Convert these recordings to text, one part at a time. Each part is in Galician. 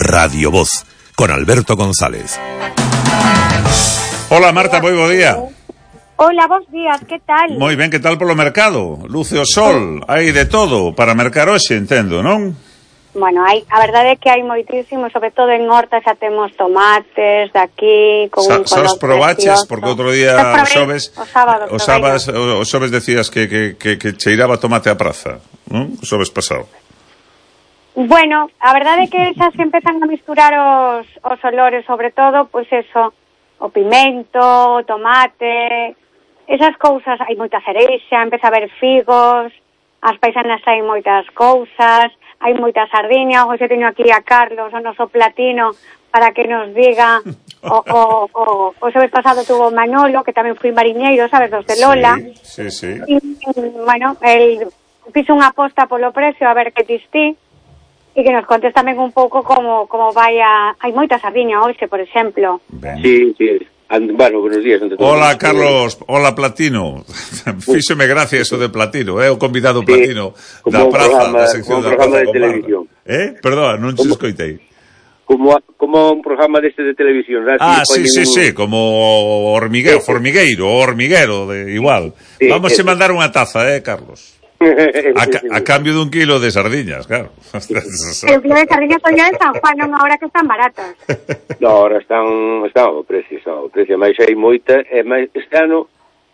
Radio Voz, con Alberto González. Hola Marta, moi bo día. Hola, bons días, que tal? Moi ben, que tal polo mercado? Luce o sol, hai de todo para mercar hoxe, entendo, non? Bueno, a verdade é que hai moitísimo, sobre todo en Horta xa temos tomates daqui con un color probaches, porque outro día o xoves decías que cheiraba tomate a praza, non? O xoves pasado. Bueno, a verdade é que xa se empezan a misturar os olores, sobre todo, pois eso, o pimento, o tomate, esas cousas, hai moita cereixa, empeza a haber figos, as paisanas hai moitas cousas, hai moita sardiña. Hoxe teño aquí a Carlos, o noso platino, para que nos diga o xoves pasado tuvo Manolo, que tamén foi mariñeiro, sabes, dos de Lola. Sí. E, bueno, el fixo unha aposta polo precio, a ver que distí, e que nos contes tamén un pouco como vai a... Hai moita sardiña hoxe, por exemplo. Ben. Sí. Bueno, buenos días. Hola, Carlos. Hola, Platino. Fíxeme gracia eso de Platino, o convidado Platino da praza, da sección da praza de televisión. Perdón, non te escoitei. Como un programa deste de televisión, ¿verdad? Sí, como hormiguero, igual. Sí, vamos a mandar unha taza, Carlos. A cambio de 1 kilo de sardiñas, claro. El kilo de sardiñas son ya de San Juan, non ahora que están baratas. No, ahora están ao precio, mas hai moita, este ano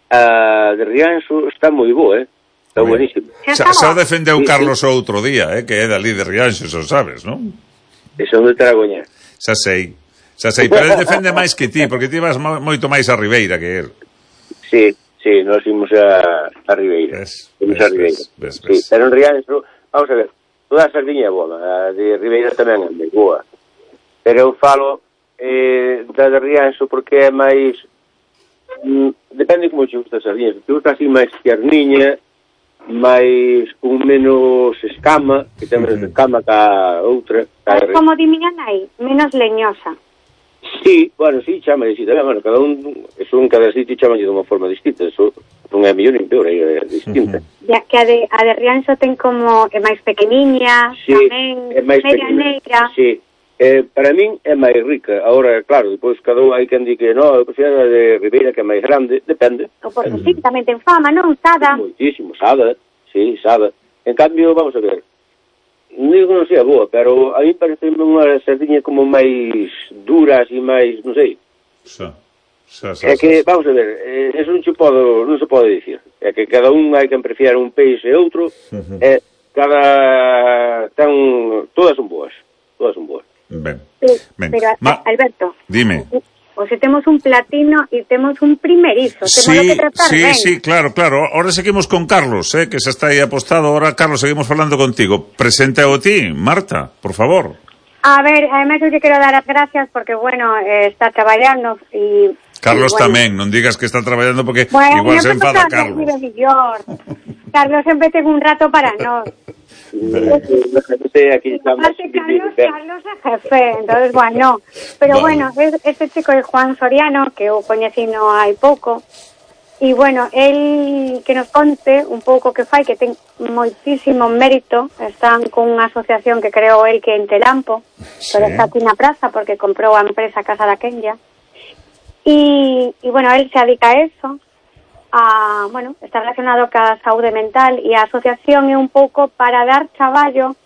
de Rianxo está moi boa, está buenísimo. Xa defendeu Carlos o outro día, que é dali de Rianxo, xa sabes, non? E son de Taragoña. Xa sei, pero ele defende máis que ti, porque ti vas moito máis a Ribeira que el. Sí, nos imos a Ribeira. Ves. Sí, pero en Rianxo, vamos a ver, toda a sardiña é boa, a de Ribeira tamén é moi boa. Pero eu falo da de Rianxo porque é máis... depende como te gusta a sardiña. Se te gusta así máis tierniña, máis con menos escama, que ten menos escama que a outra. Como di miña nai, menos leñosa. Sí, chama así tamén, bueno, cada en cada sitio chama de unha forma distinta, eso non é mellor nin peor, é distinta. Ya que a de Rianxo ten como é máis pequeniña, tamén media negra. Sí, para min é máis rica. Agora, claro, depois cada un hai quen di que non, eu prefiro a de Ribeira que é máis grande, depende. O porque sí, tamén ten fama, non? Sada. Moitísimo, sada. En cambio, vamos a ver, non sei a boa, pero a mí parece unha sardiña como máis duras e máis, non sei. É que, vamos a ver, eso non se pode dicir. É que cada un hai que prefiere un peixe e outro, todas son boas. Ben. Pero, Alberto, dime. Oxe, temos un platino e temos un primerizo. Sí, claro. Ahora seguimos con Carlos, que se está aí apostado. Ahora, Carlos, seguimos falando contigo. Presenta-o ti, Marta, por favor. A ver, además eu que quero dar as gracias porque, bueno, está traballando e... Carlos tamén, non digas que está traballando porque igual se enfada Carlos. Carlos sempre ten un rato para nós. Carlos é jefe, entonces, bueno, pero bueno, este chico é Juan Soriano, que eu coñecino hai pouco, e bueno, el que nos conte un pouco que fai, que ten moitísimo mérito. Están con unha asociación que creou el que en Telampo, pero está aquí na praza porque comprou a empresa Casa da Kenya, e bueno, el se dedica a eso. Está relacionado ca saúde mental, e a asociación é un pouco para dar traballo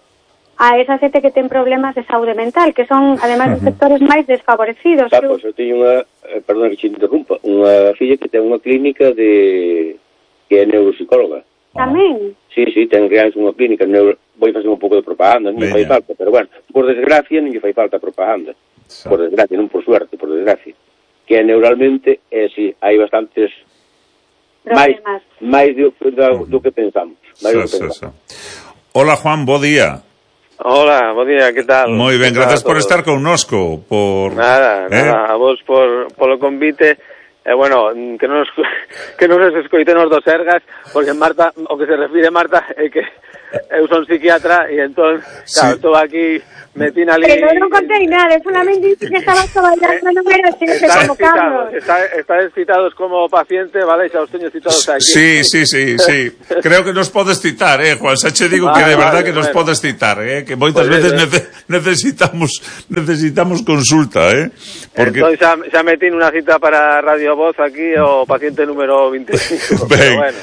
a esa xente que ten problemas de saúde mental, que son, ademais, os sectores máis desfavorecidos. Pois eu teño perdón que te interrumpa, unha filla que ten unha clínica que é neuropsicóloga. Tamén? Sí, ten reais unha clínica, vou facer un pouco de propaganda, non fai falta, pero bueno, por desgracia non lle fai falta propaganda. Por desgracia, non por suerte, por desgracia. Que é neuralmente, sí, hai bastantes máis do que pensamos. Hola, Juan, bo día. Hola, bo día, que tal? Moi ben, gracias por estar connosco. Nada, a vos polo convite. Bueno, que non nos escoiten os dos Sergas, porque Marta, o que se refire Marta é que eu son psiquiatra e entón, claro, estou aquí metín ali... Pero non contei nada, solamente que estabas traballando non era xente como Carlos. Estades citados como paciente, vale, xa os teño citados aquí. Sí. Creo que nos podes citar, Juan, xa che digo que de verdad que nos podes citar, que moitas veces necesitamos consulta, porque... Entón xa metín unha cita para Radio Voz aquí o paciente número 25. Ben, bueno,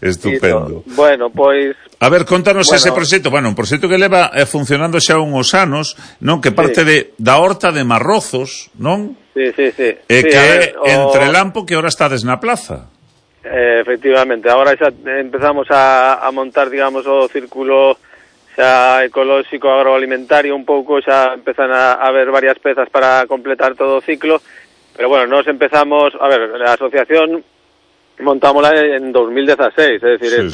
estupendo. Bueno, pois... A ver, contanos ese proxecto, un proxecto que leva funcionando xa uns anos, non? Que parte da horta de Marrozos, non? Sí. E que é entre Lampo que ahora estades na plaza. Efectivamente, agora xa empezamos a montar, digamos, o círculo xa ecolóxico agroalimentario un pouco, xa empezan a haber varias pezas para completar todo o ciclo, pero bueno, nos empezamos, a ver, a asociación montámola en 2016, é dicir,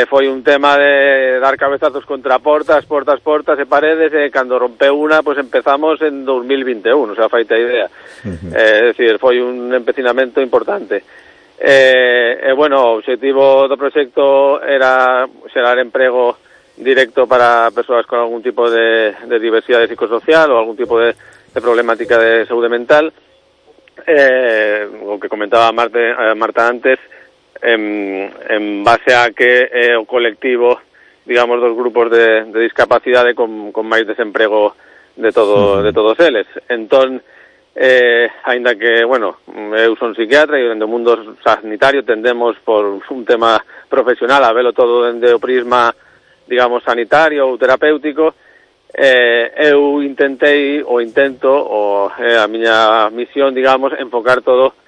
foi un tema de dar cabezazos contra portas e paredes, e cando rompeu unha, pois empezamos en 2021, o sea, faite a idea. É dicir, foi un empecinamento importante. Bueno, o objetivo do proxecto era xerar emprego directo para persoas con algún tipo de diversidade psicosocial ou algún tipo de problemática de saúde mental. O que comentaba Marta antes, en base a que o colectivo, digamos, dos grupos de discapacidade con máis desemprego de todos eles. Entón, aínda que, bueno, eu son psiquiatra e dentro do mundo sanitario tendemos por un tema profesional a velo todo dende o prisma, digamos, sanitario ou terapéutico, eu intento, a miña misión, digamos, enfocar todo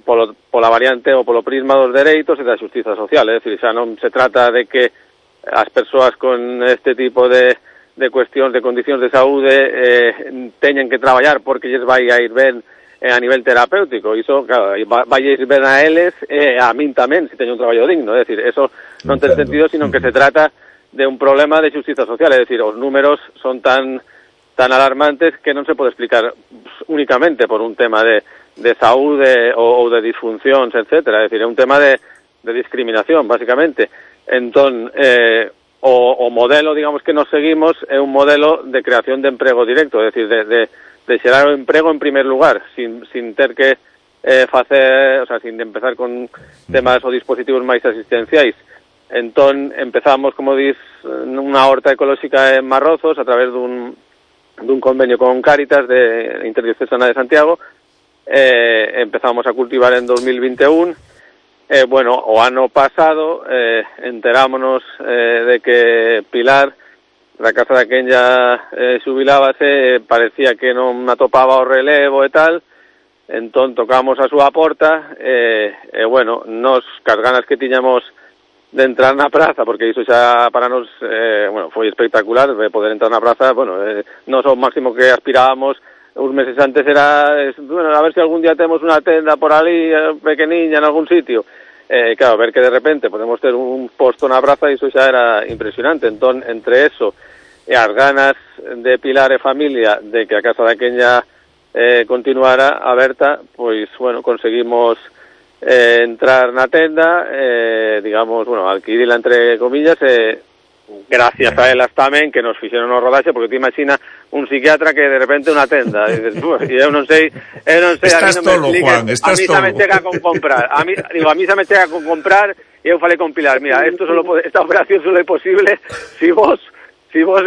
pola variante ou polo prisma dos dereitos e da xustiza social, é dicir, xa non se trata de que as persoas con este tipo de cuestións, de condicións de saúde teñen que traballar porque lles vai a ir ben a nivel terapéutico, iso, claro, vai ir ben a eles e a min tamén, se teño un traballo digno, é dicir, eso non ten sentido, sino que se trata de un problema de xustiza social, é dicir, os números son tan alarmantes que non se pode explicar únicamente por un tema de saúde ou de disfuncións, etcétera. É dicir, é un tema de discriminación, basicamente. Entón, o modelo, digamos, que nos seguimos é un modelo de creación de emprego directo, é dicir, de xerar o emprego en primer lugar, sin ter que facer, o sea, sin empezar con temas ou dispositivos máis asistenciais. Entón, empezamos, como dis, nunha horta ecolóxica en Marrozos a través dun convenio con Cáritas de Interdiocesana de Santiago. Empezamos a cultivar en 2021. Bueno, o ano pasado enterámonos de que Pilar, da casa da quen ya xubilábase, parecía que non atopaba o relevo e tal. Entón tocamos a súa porta bueno, nos cas ganas que tiñamos de entrar na praza, porque iso xa para nos bueno, foi espectacular de poder entrar na praza. Bueno, nos o máximo que aspirábamos uns meses antes era, bueno, a ver se algún día temos unha tenda por ali pequeniña en algún sitio. Claro, ver que de repente podemos ter un posto na praza, iso xa era impresionante. Entón, entre eso e as ganas de Pilar e familia de que a casa da Queña continuara aberta, pois, bueno, conseguimos entrar na tenda, digamos, bueno, adquirila entre comillas, gracias a elas tamén que nos fixeron o rodaxe, porque te imagina un psiquiatra que de repente unha tenda e dices, eu non sei estás tolo, Juan, estás tolo. A mí xa me chega con comprar, a mí xa me chega con comprar e eu falei con Pilar, mira, esta operación solo é posible si vos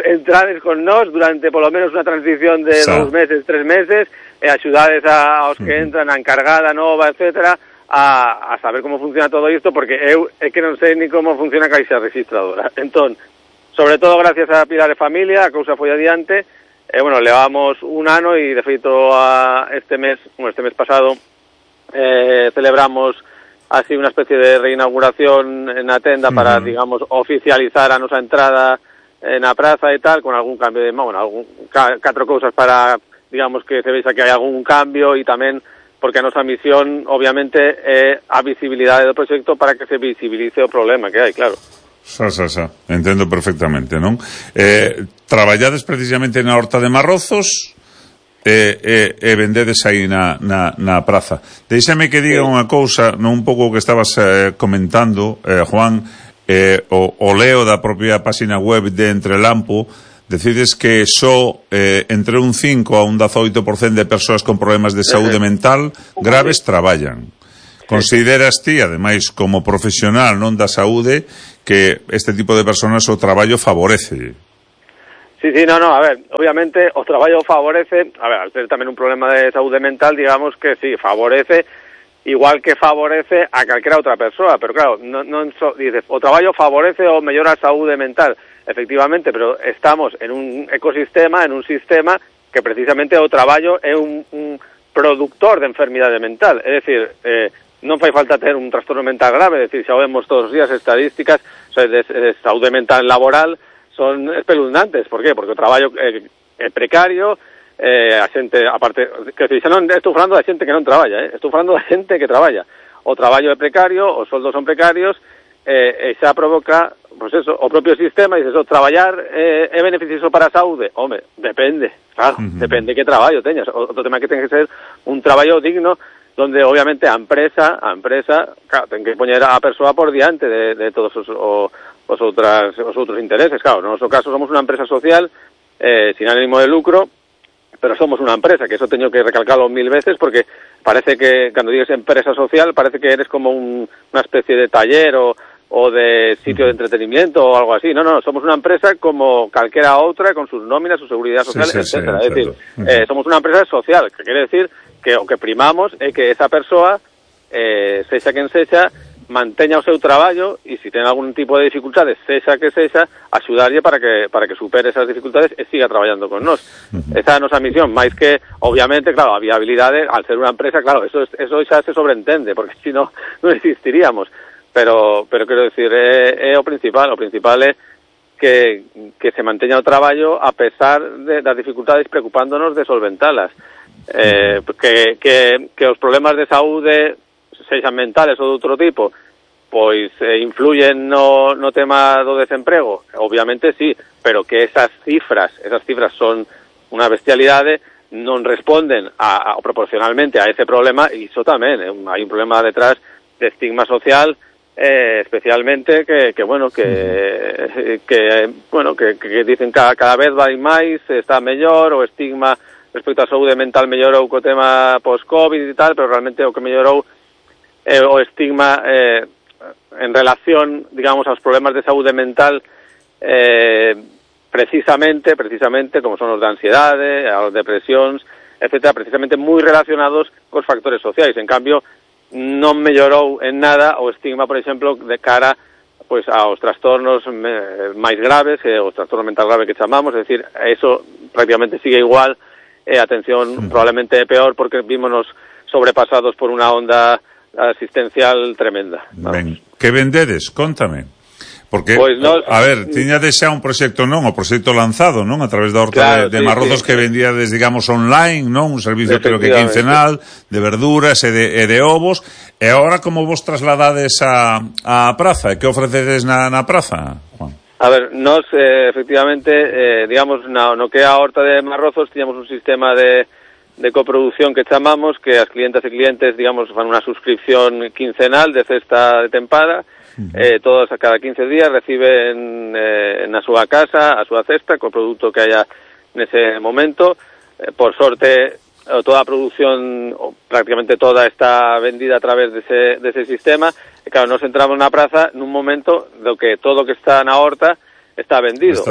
entrades con nós durante polo menos unha transición de 2 meses, 3 meses e axudades aos que entran a encargada nova, etcétera, a saber como funciona todo isto, porque eu é que non sei ni como funciona a caixa registradora. Entón, sobre todo gracias a Pilar e familia, a cousa foi adiante. Bueno, levamos un ano e, de feito, este mes pasado celebramos así unha especie de reinauguración na tenda para, digamos, oficializar a nosa entrada na praza e tal, con algún cambio de, bueno, 4 cousas para, digamos, que se vexa que hai algún cambio e tamén porque a nosa misión, obviamente, é a visibilidade do proxecto para que se visibilice o problema que hai, claro. Entendo perfectamente, non? Traballades precisamente na horta de Marrozos e vendedes aí na praza. Deixame que diga unha cousa, non un pouco que estabas comentando, Juan, o leo da propia página web de Entrelampo, decides que só entre un 5 a un 18% de persoas con problemas de saúde mental graves traballan. Consideras ti, ademais, como profesional non da saúde, que este tipo de personas o traballo favorece? Sí, no, a ver, obviamente o traballo favorece, a ver, al ser tamén un problema de saúde mental, digamos que sí, favorece, igual que favorece a calquera outra persoa, pero claro, dices, o traballo favorece ou mellora a saúde mental, efectivamente, pero estamos en un ecosistema, en un sistema que precisamente o traballo é un productor de enfermidade mental, é dicir, non fai falta ter un trastorno mental grave, é dicir, xa vemos todos os días estadísticas de saúde mental laboral son espeluznantes. Por qué? Porque o traballo é precario, a xente, aparte, que xa non estou falando da xente que non traballa, estou falando da xente que traballa. O traballo é precario, os soldos son precarios, e xa provoca, pois eso, o propio sistema, dices, traballar é beneficioso para a saúde? Home, depende, claro, depende que traballo teñas. Outro tema que ten que ser un traballo digno, donde obviamente a empresa, claro, ten que poñer a persoa por diante de todos os outros intereses. Claro, no noso caso somos unha empresa social sin ánimo de lucro, pero somos unha empresa, que eso teño que recalcarlo 1000 veces, porque parece que, cando dices empresa social, parece que eres como unha especie de taller o de sitio de entretenimiento o algo así. No, somos unha empresa como calquera outra, con sus nóminas, su seguridad social, etcétera. Es decir, somos unha empresa social, que quere decir que o que primamos é que esa persoa, sexa quen sexa, manteña o seu traballo e se ten algún tipo de dificultades, sexa que sexa, axudarlle para que supere esas dificultades e siga traballando con nós. Esa é a nosa misión, máis que, obviamente, claro, a viabilidade, al ser unha empresa, claro, eso xa se sobreentende, porque si non existiríamos. Pero quero decir, é o principal é que se manteña o traballo a pesar das dificultades, preocupándonos de solventalas. Que os problemas de saúde, sexan mentales ou de outro tipo, pois influyen no tema do desemprego, obviamente sí, pero que esas cifras son unha bestialidade, non responden proporcionalmente a ese problema, e iso tamén, hai un problema detrás de estigma social, especialmente que dicen cada vez vai máis, está mellor, o estigma respecto á saúde mental mellorou co tema post-COVID e tal, pero realmente o que mellorou o estigma en relación, digamos, aos problemas de saúde mental, precisamente, como son os de ansiedade, as depresións, etcétera, precisamente moi relacionados cos factores sociais. En cambio, non mellorou en nada o estigma, por exemplo, de cara pois aos trastornos máis graves, o trastorno mental grave que chamamos, é dicir, eso prácticamente sigue igual, e atención, probablemente é peor porque vímonos sobrepasados por unha onda asistencial tremenda. Ben, que vendedes? Contame. Porque, pues a ver, tiñades xa un proxecto o proxecto lanzado, non? A través da horta de Marrozos, que vendíades, digamos, online, non? Un servicio, creo que quincenal, de verduras e de ovos. E agora, como vos trasladades a praza? Que ofrecedes na praza, Juan? A ver, nos, efectivamente, digamos, no que é a horta de Marrozos, tiñamos un sistema de coproducción que chamamos, que as clientas e clientes, digamos, fan unha suscripción quincenal de cesta de tempada, todos a cada 15 días reciben na súa casa a súa cesta co produto que haya nese momento. Por sorte, toda a produción, prácticamente toda, está vendida a través dese sistema. E claro, nos entramos na praza nun momento do que todo o que está na horta está vendido.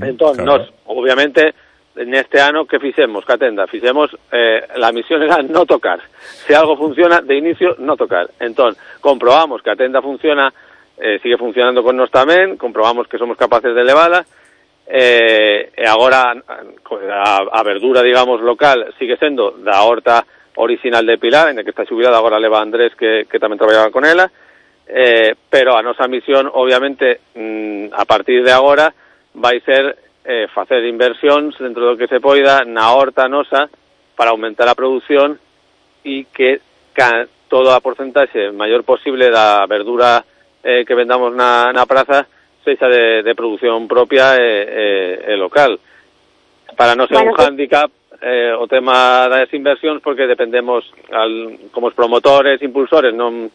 Entón, claro, nos, obviamente, neste ano, que fixemos, que atenda? Fixemos, la misión era no tocar. Se algo funciona, de inicio, no tocar. Entón, comprobamos que a tenda funciona, sigue funcionando con nos tamén, comprobamos que somos capaces de levala, e agora a verdura, digamos, local sigue sendo da horta original de Pilar, en que está xubilada, agora leva Andrés, que tamén traballaba con ela, pero a nosa misión, obviamente, a partir de agora, vai ser facer inversións dentro do que se poida na horta nosa para aumentar a produción e que toda a porcentaxe maior posible da verdura que vendamos na praza sexa de produción propia e local. Para non ser un hándicap o tema das inversións, porque dependemos, como os promotores, impulsores, non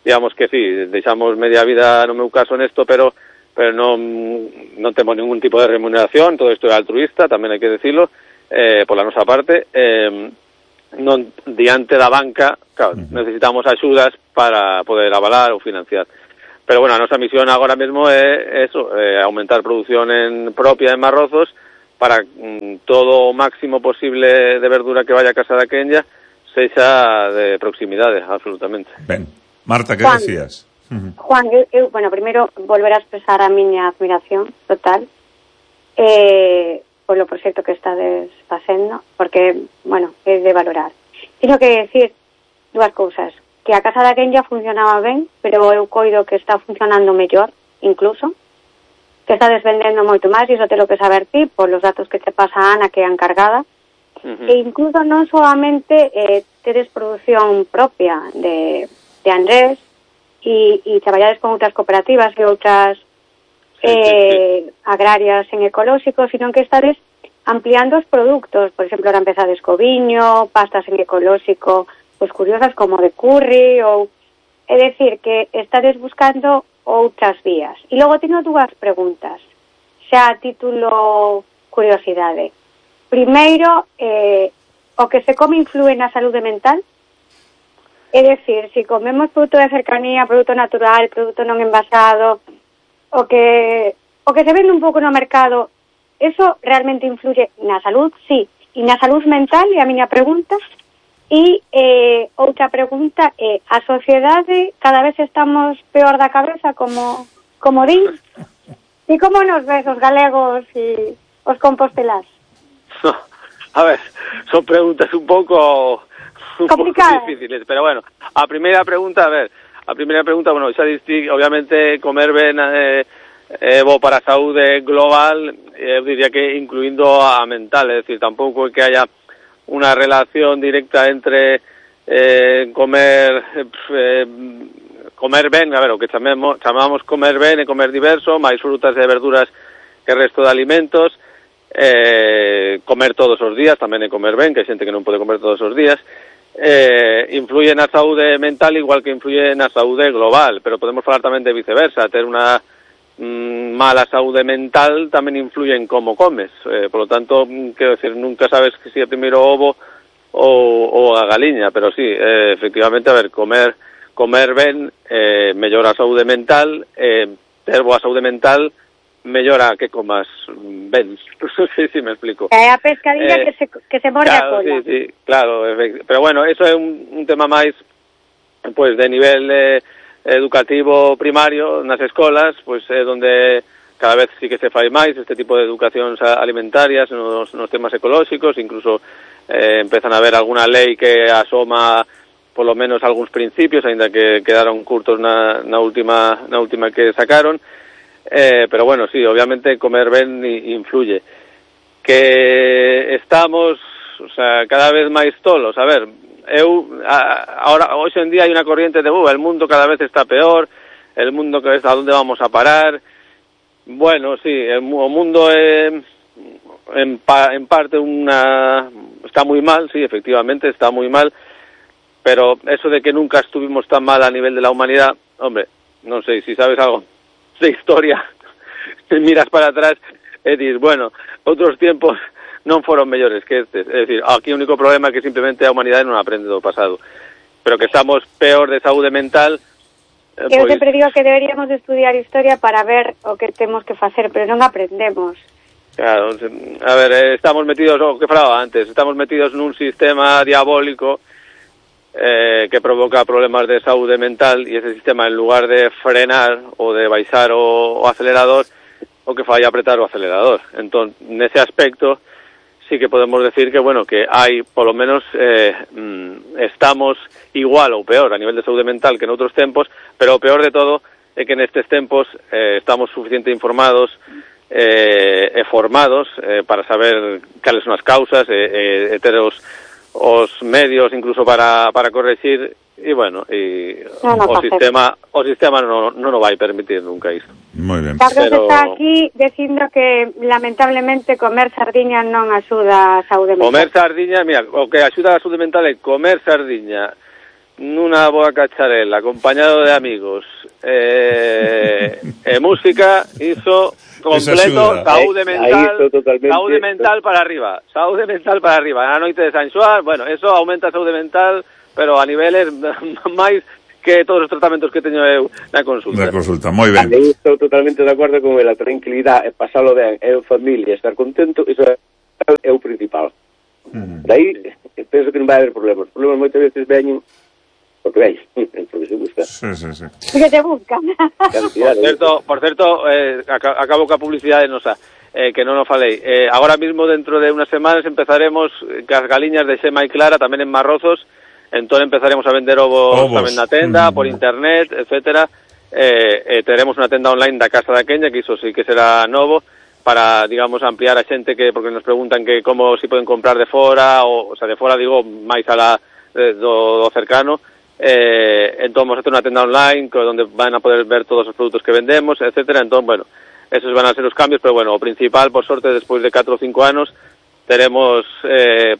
digamos que sí, deixamos media vida no meu caso nesto, pero non temos ningún tipo de remuneración, todo isto é altruista, tamén hai que decirlo, pola nosa parte, non diante da banca, claro, necesitamos axudas para poder avalar ou financiar. Pero bueno, a nosa misión agora mesmo é eso, aumentar produción propia en Marrozos para todo o máximo posible de verdura que vaya a casa da Quenya sexa de proximidade, absolutamente. Ben, Marta, que Juan, decías? Juan, bueno, primeiro volver a expresar a miña admiración total polo proxecto que estades facendo, porque, bueno, é de valorar. Teño que decir dúas cousas. Que a Casa da Quenya funcionaba ben, pero eu coido que está funcionando mellor, incluso, que está desvendendo moito máis, e iso te lo que saber ti, por los datos que te pasa a Ana, que é a encargada, e incluso non solamente tedes produción propia de Andrés, e traballades con outras cooperativas e outras agrarias en ecolóxico, sino que estades ampliando os produtos, por exemplo, ahora empezades co viño, pastas en ecolóxico, pois curiosas como de curry, ou é decir, que estades buscando outras vías. E logo teño dúas preguntas, xa a título curiosidade. Primeiro, o que se come influe na saúde mental? É decir, se comemos produto de cercanía, produto natural, produto non envasado, o que se vende un pouco no mercado, eso realmente influye na salud? Sí. E na salud mental, é a miña pregunta. E outra pregunta é, a sociedade cada vez estamos peor da cabeza, como din? E como nos ves os galegos e os compostelás? A ver, son preguntas un pouco difíciles, pero bueno, a primeira pregunta, bueno, xa diste, obviamente, comer ben é bo para a saúde global, eu diría que incluindo a mental, é dicir, tampouco é que haya unha relación directa entre comer ben, a ver, o que chamamos comer ben e comer diverso, máis frutas e verduras que o resto de alimentos, comer todos os días, tamén é comer ben, que hai xente que non pode comer todos os días, influye na saúde mental igual que influye na saúde global, pero podemos falar tamén de viceversa, ter unha mala saúde mental tamén influye en como comes, por lo tanto, quero decir, nunca sabes que si é primeiro o ovo ou a galiña, pero sí, efectivamente, a ver, comer ben mellora a saúde mental, ter boa saúde mental mellora que comas ben, non sei se me explico. É a pescadilla que se morde claro, a cola. Sí, claro, pero bueno, eso é un tema máis pues de nivel educativo primario nas escolas, pois é onde cada vez sí que se fai máis este tipo de educacións alimentarias nos temas ecolóxicos, incluso empezan a haber alguna lei que asoma polo menos algúns principios, aínda que quedaron curtos na última que sacaron, pero bueno, sí, obviamente comer ben influye. Que estamos, o sea, cada vez máis tolos, a ver, ahora, hoxe en día hai unha corriente de el mundo cada vez está peor, el mundo que a dónde vamos a parar. Bueno, sí, o mundo en parte está moi mal, sí, efectivamente está moi mal, pero eso de que nunca estuvimos tan mal a nivel de la humanidad, hombre, non sei, si sabes algo de historia, miras para atrás e dis, bueno, outros tiempos non foron mellores que estes. É dicir, aquí o único problema é que simplemente a humanidade non aprende do pasado. Pero que estamos peor de saúde mental... Eu sempre digo que deberíamos de estudiar historia para ver o que temos que facer, pero non aprendemos. Claro, a ver, estamos metidos, o que falaba antes, estamos metidos nun sistema diabólico que provoca problemas de saúde mental, e ese sistema, en lugar de frenar ou de baixar o acelerador, o que fai apretar o acelerador. Entón, nese aspecto, sí que podemos decir que, bueno, que hai, polo menos, estamos igual ou peor a nivel de saúde mental que en outros tempos, pero o peor de todo é que nestes tempos estamos suficiente informados e formados para saber cales son as causas e ter os medios incluso para corregir, e bueno, o sistema non o vai permitir nunca iso. Moi ben. Carlos está aquí dicindo que lamentablemente comer sardiña non axuda a saúde mental. Comer sardiña, mira, o que axuda a saúde mental é comer sardiña nunha boa cacharela, acompañado de amigos, música, iso completo, saúde mental para arriba, na noite de San Xoán, bueno, eso aumenta a saúde mental, pero a niveles máis que todos os tratamentos que teño eu na consulta. Moi ben. Eu estou totalmente de acordo con a tranquilidade, pasalo ben, en familia, estar contento, iso é o principal. Daí, penso que non vai haber problemas. Os problemas moitas veces veñen porque veis, porque se busca. Sí. Porque te buscan. Por certo, acabo ca publicidade nosa, que non o falei. Agora mismo, dentro de unas semanas, empezaremos cas galiñas de Xema e Clara, tamén en Marrozos. Entón empezaremos a vender ovos tamén na tenda, por internet, etcétera. Teremos unha tenda online da Casa da Queña, que iso sí que será novo, para, digamos, ampliar a xente que, porque nos preguntan que como si poden comprar de fora, o sea, de fora digo, máis alá do cercano. Entón vamos a ter unha tenda online onde van a poder ver todos os produtos que vendemos, etcétera. Entón, bueno, esos van a ser os cambios, pero bueno, o principal, por sorte, despois de 4 ou 5 anos, teremos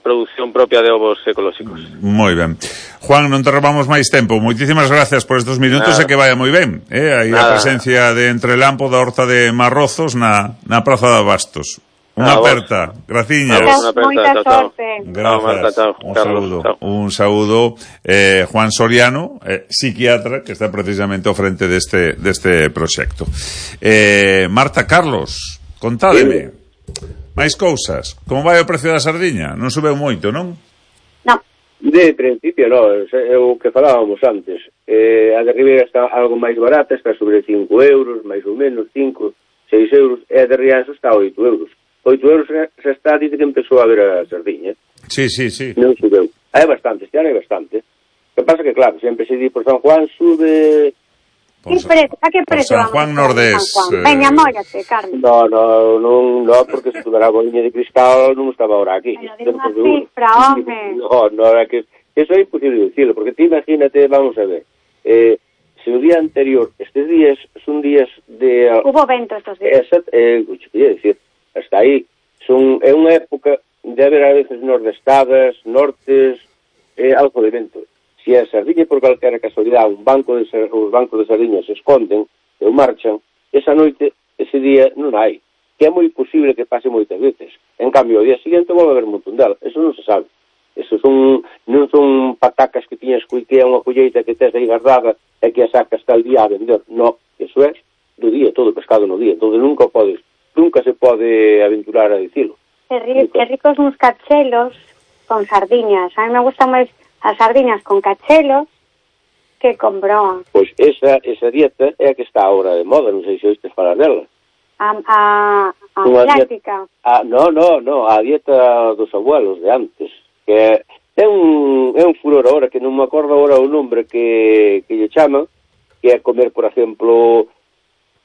produción propia de ovos ecolóxicos. Moi ben. Juan, non te robamos máis tempo. Moitísimas gracias por estes minutos e que vaya moi ben. Aí a presencia de Entrelampo da Horta de Marrozos na Praza de Abastos. Unha aperta. Graciñas. Moita sorte. Grazas. Un saúdo. Juan Soriano, psiquiatra, que está precisamente ao frente deste proxecto. Marta, Carlos, contádeme. Máis cousas. Como vai o precio da sardiña? Non subeu moito, non? Non. De principio, non. É o que falábamos antes. A de Ribeira está algo máis barata, está sobre 5 euros, máis ou menos, 5, 6 euros. E a de Rianxo está a 8 euros. 8 euros xa está, dice que empezou a ver a sardiña. Sí. Non subeu. Hai bastante, este ano hai bastante. O que pasa que, claro, sempre se di por San Juan, sube... A que precio San Juan Nordés. Veña, mórate, Carlos. Non, porque se tuvera a boliña de cristal non estaba ahora aquí. Pero de unha cifra, home. No, é que eso é imposible dicirlo, porque ti imagínate, vamos a ver, se o día anterior, estes días son días de... Hubo vento estos días. Quería decir, hasta aí, é unha época de haber a veces nordestadas, nortes, algo de vento. Se a sardiña por calquera casualidade os bancos de sardiñas se esconden ou marchan, esa noite, ese día non hai, que é moi posible que pase moitas veces. En cambio, o día seguinte volve a haber un montón dela, eso non se sabe. Eso non son patacas que tiñas que é unha colleita que tes aí guardada e que a sacas tal día a vender, no, eso é do día, todo pescado no día, entón nunca se pode aventurar a dicilo. Que ricos uns cachelos con sardiñas, a mí me gusta máis as sardiñas con cachelos que con broa. Pois esa dieta é a que está agora de moda, non sei se oístes falar dela. A práctica. No, a dieta dos abuelos de antes, que é un furor agora, que non me acordo agora o nombre que lle chaman, que é comer, por exemplo,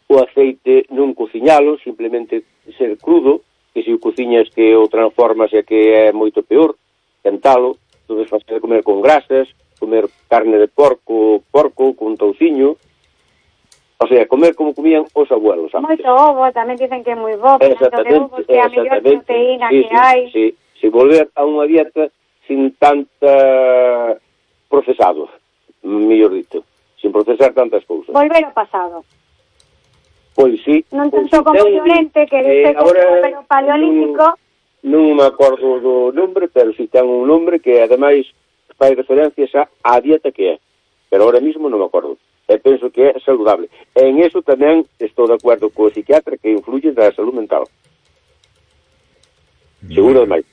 o aceite non cociñalo, simplemente ser crudo, que se o cociñas que o transformas e que é moito peor, quentalo. Entonces facer comer con grasas, comer carne de porco con touciño, o sea, comer como comían os abuelos antes. Moito ovo, tamén dicen que é moi bo, que é a mellor proteína que hai. Sí, volver a unha dieta sin tanta procesado, mellor dito, sin procesar tantas cousas. Volver ao pasado. Pois sí. Non tanto como Llorente, que dice que é o paleolítico. Non me acordo do nombre, pero si ten un nombre que ademais fai referencias á dieta que é, pero ahora mismo non me acordo, e penso que é saludable. E en eso tamén estou de acordo co psiquiatra que influye na saúde mental. Seguro demais.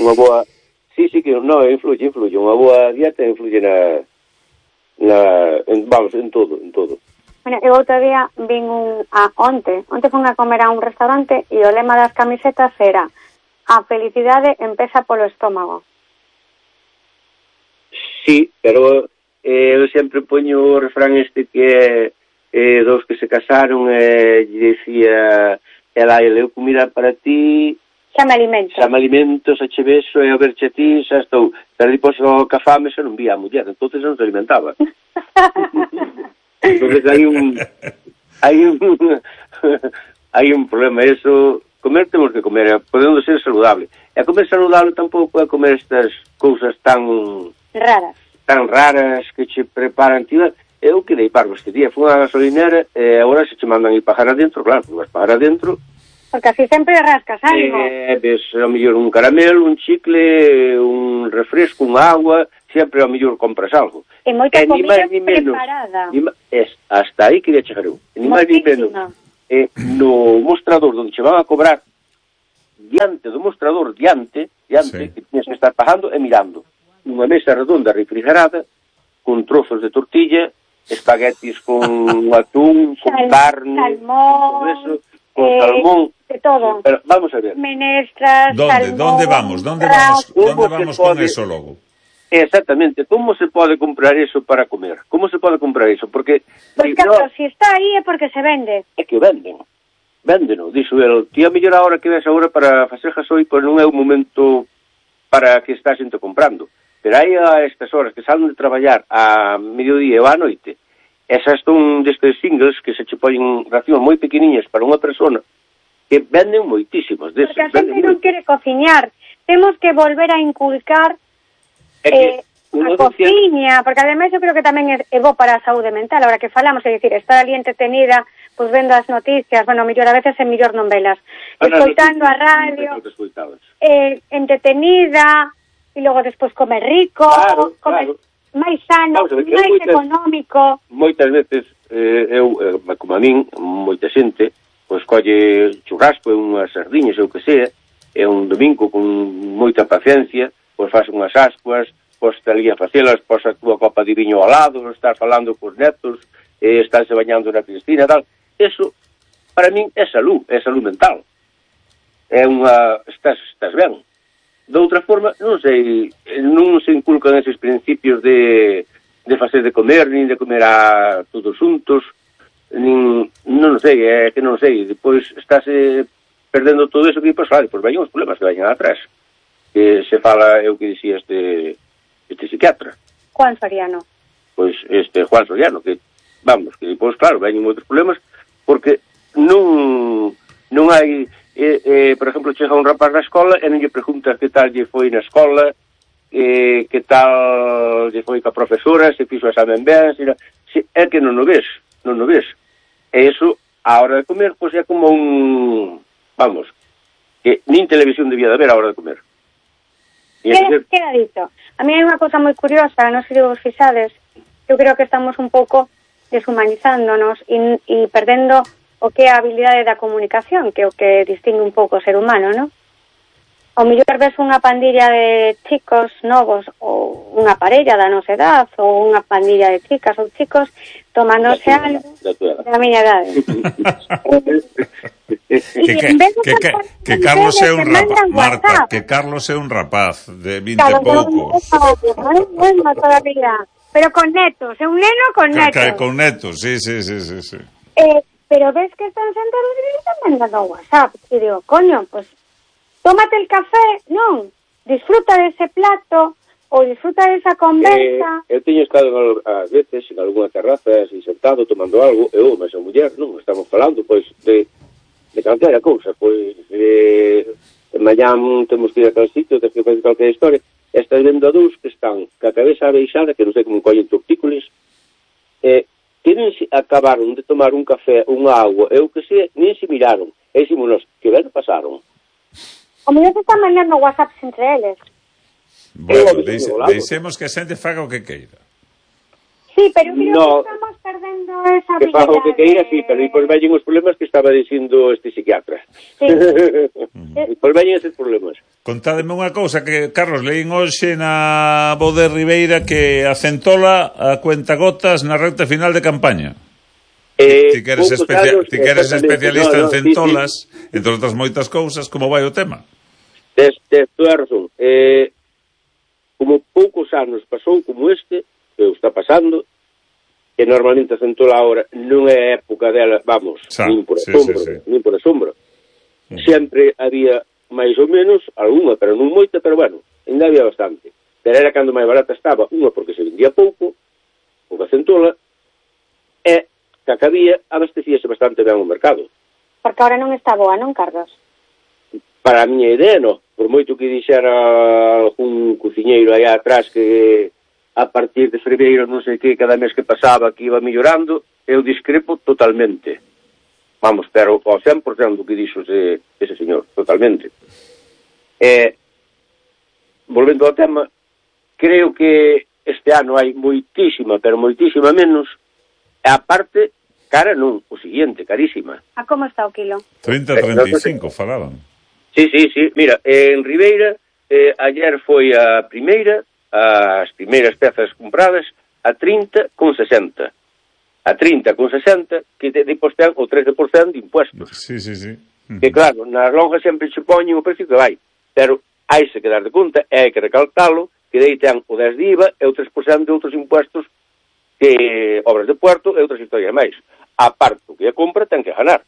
Unha boa... Sí, que non, influye. Unha boa dieta influye en todo. Bueno, eu outro día vin onte fun a comer a un restaurante e o lema das camisetas era: a felicidade empeza polo estómago. Sí, pero eu sempre poño o refrán este que é dos que se casaron e dicía ela, eu comida para ti, xa me alimento, xa che beso e ao verche a ti xa estou, pero depois o cafame xa non vía a muller, entonces non se alimentaba. Entonces hai un problema, eso, comer temos que comer, podendo ser saludable. E a comer saludable tampouco é comer estas cousas tan raras. Tan raras que che preparan, tío. Eu quedei parvo este día, fui a gasolinera e agora se che mandan ir pagar adentro, claro, porque vas pagar adentro. Porque así sempre rascas algo. Ves ao mellor un caramelo, un chicle, un refresco, un agua, sempre ao mellor compras algo. E moita comida preparada. Hasta aí queria chegar eu. Ni máis ni menos. No mostrador onde che van a cobrar, diante do mostrador, diante, sí, que tienes que estar pagando e mirando. Unha mesa redonda refrigerada, con trozos de tortilla, espaguetis con atún, con carne, salmón, todo eso, con salmón, de todo. Pero vamos a ver. Menestras, salmón. ¿Dónde vamos con eso logo? Exactamente, como se pode comprar eso para comer? Como se pode comprar eso? Porque pues claro, si está aí é porque se vende. É que véndeno, dixo el, tía mellor a hora que ves agora para facer gasoi, pois non é o momento para que está xente comprando. Pero hai a estas horas que salen de traballar a mediodía ou a noite, esas son destes singles que se che poñen racións moi pequeniñas para unha persona, que venden moitísimos deses. Porque a xente non quere cociñar. Temos que volver a inculcar a cociña, porque ademais eu creo que tamén é bo para a saúde mental, ahora que falamos, é dicir, estar ali entretenida, pois vendo as noticias, bueno, mellor a veces é mellor non velas, escoitando a radio, entretenida, e logo despois comer rico, comer máis sano, máis económico. Moitas veces, eu, como a min, moita xente, pois colle churrasco e unhas sardiñas, ou que sea, e un domingo con moita paciencia, pois faz unhas ascuas, pois te ali a facelas, pois a túa copa de viño ao lado, estás falando cos netos, estás bañando na piscina, tal. Eso, para min, é salud mental. É unha... Estás ben. De outra forma, non sei, non se inculcan eses principios de facer de comer, nin de comer a todos xuntos, nin, non sei, é que non sei, depois estás perdendo todo eso que depois fala, depois vayan os problemas que vayan atrás, que se fala, eu que dicía este psiquiatra. Juan Soriano. Pois Juan Soriano, que, vamos, que depois, claro, vayan outros problemas, porque non hai... por exemplo, chega un rapaz na escola e non lle preguntas que tal lle foi na escola, que tal lle foi ca profesora, se fixo o examen ben, é que non o ves. E iso, a hora de comer, pois é como un... Vamos, que nin televisión debía de haber a hora de comer. Queda dito. A mí hai unha cousa moi curiosa, non sei se vos fixades, eu creo que estamos un pouco deshumanizándonos e perdendo o que é a habilidade da comunicación, que é o que distingue un pouco o ser humano, non? O mellor ves unha pandilla de chicos novos ou unha parella da nosa edad ou unha pandilla de chicas ou chicos tomándose algo da miña idade. Que Carlos é un rapaz, Marta, que Carlos é un rapaz de 20 e poucos. Bueno, todavía. Pero con netos, é un neno con netos. Con netos, sí. Pero ves que están sentados e están mandando WhatsApp. E digo, coño, pues tómate el café, non, disfruta dese plato ou disfruta desa conversa. Eu teño estado ás veces en algunha terraza así sentado tomando algo, eu, mas a muller, non, estamos falando, pois, de calquera cousa, pois, mañán temos que ir a tal sitio, temos que fazer calquera historia, estás vendo a dous que están ca cabeza abeixada, que non sei como collen tortícolis, que non se acabaron de tomar un café, unha agua, eu que sei, nin se miraron. E dixímonos, que ben pasaron. O mellor se están mandando WhatsApps entre eles. Bueno, deixemos que a xente faga o que queira. Sí, pero creo que estamos perdendo esa habilidade. Que faga o que queira, sí, pero depois veñen os problemas que estaba dicindo este psiquiatra. Sí. Depois veñen eses problemas. Contádeme unha cousa que, Carlos, leín hoxe na voz de Ribeira que a Centola a cuentagotas na recta final de campaña. Ti que eres especialista en centolas, entre outras moitas cousas, como vai o tema? Tes toda a razón. Como poucos anos pasou como este, que está pasando, que normalmente a centola agora non é época dela, vamos, nin por asombro. Sempre había máis ou menos algunha, pero non moita, pero bueno, ainda había bastante. Pero era cando máis barata estaba, unha porque se vendía pouco, porque a centola, e que había abastecíase bastante ben o mercado. Porque agora non está boa, non, Carlos? Para a miña idea, non. Por moito que dixera algún cociñeiro aí atrás que a partir de Freveiro, non sei que, cada mes que pasaba que iba mellorando, eu discrepo totalmente. Vamos, pero ao 100% do que dixo ese señor, totalmente. Volvendo ao tema, creo que este ano hai moitísima, pero moitísima menos, e a parte, cara non, o siguiente, carísima. A como está o kilo? 30-35, falaban. Sí. Mira, en Ribeira, ayer foi a primeira, as primeiras pezas compradas, a 30,60. A 30,60, que depois ten o 13% de impuestos. Sí. Que claro, nas lonjas sempre se poñen o precio que vai, pero haise que dar de conta, e hai que recalcalo, que dei ten o 10 de IVA e o 3% de outros impuestos, que obras de puerto e outras historias máis. A parte do que a compra ten que ganar.